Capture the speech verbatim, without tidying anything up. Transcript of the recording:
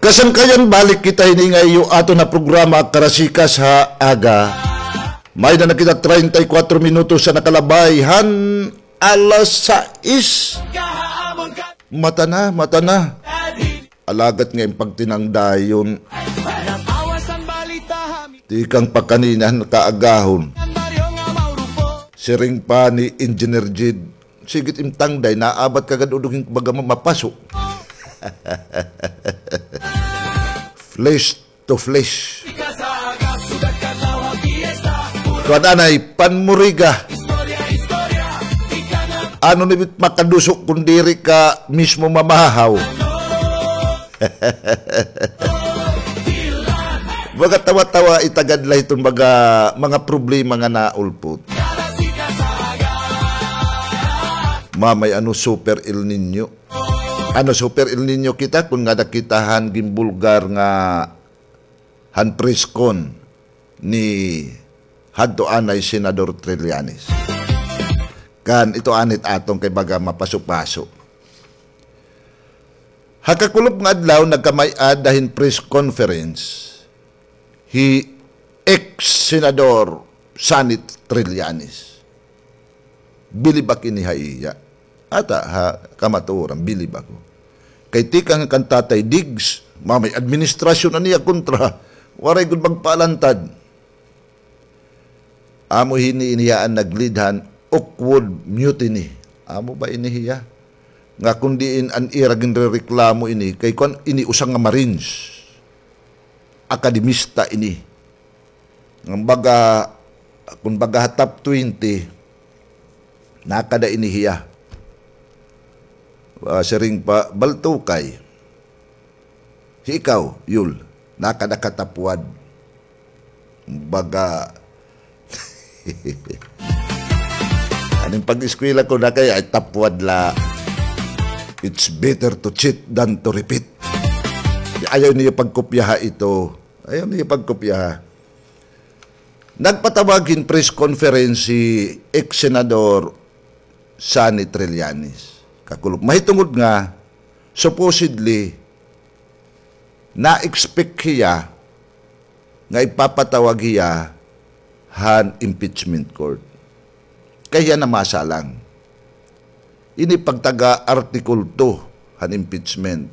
Kasangkayan, balik kita hini nga iyo aton nga programa, Karasikas ha Aga. May-ada na kita treinta y cuatro minutos an nakalabay han alas sais. Mata na, mata na. Alagad nga im pagtinangdayon. Tikang pa kanina han kaagahon. Siring pa ni Engineer Jid, sige it im tangday, naabat ka gad, udog hin baga mapaso. Flesh to flesh. Kuan anay, panmuriga. Ano ni bit makaduso kun diri ka mismo mamahaw? Baga tawa-tawa itagad la hiton baga mga problema nga naulpot. Mamay ano, super El Niño. Ano, super El Niño kita kun ngada kita han ginbulgar nga han press con ni hadto anay Senador Trillanes. Kan ito anit aton kay baga mapaso-paso. Ha kakulop nga adlaw, nagkamay-ada hin press conference hi ex-Senador Sonny Trillanes. Bilib ak ini ha iya. Ata ha kamatuoran, bilib ako. Kay tikang kan Tatay Diggs, mamay administrasyon an iya kontra. Waray gud magpaalantad. Amo hini ini hiya an nag-lead han Oakwood Mutiny. Amo ba ini hiya? Nga kun diin an ira ginrereklamo ini, kay kuan ini usa nga Marines. Akademista ini. Nga baga, kun baga ha top twenty, nakada ini hiya. Ah, siring pa, baltukay. Hi ikaw, Yul, nakada ka top one. Baga, aning pag-eskwela ko na kay ay top one la. It's better to cheat than to repeat. Ayaw niyo pagkopyaha ito. Ayaw niyo pagkopyaha. Nagpatawag hin press conference hi ex-senador Sonny Trillanes. Kakulop. Mahitungod nga, supposedly, na-expect hiya nga ipapatawag hiya han impeachment court. Kay hiya namasa lang. Ini pagtaga Article two han impeachment.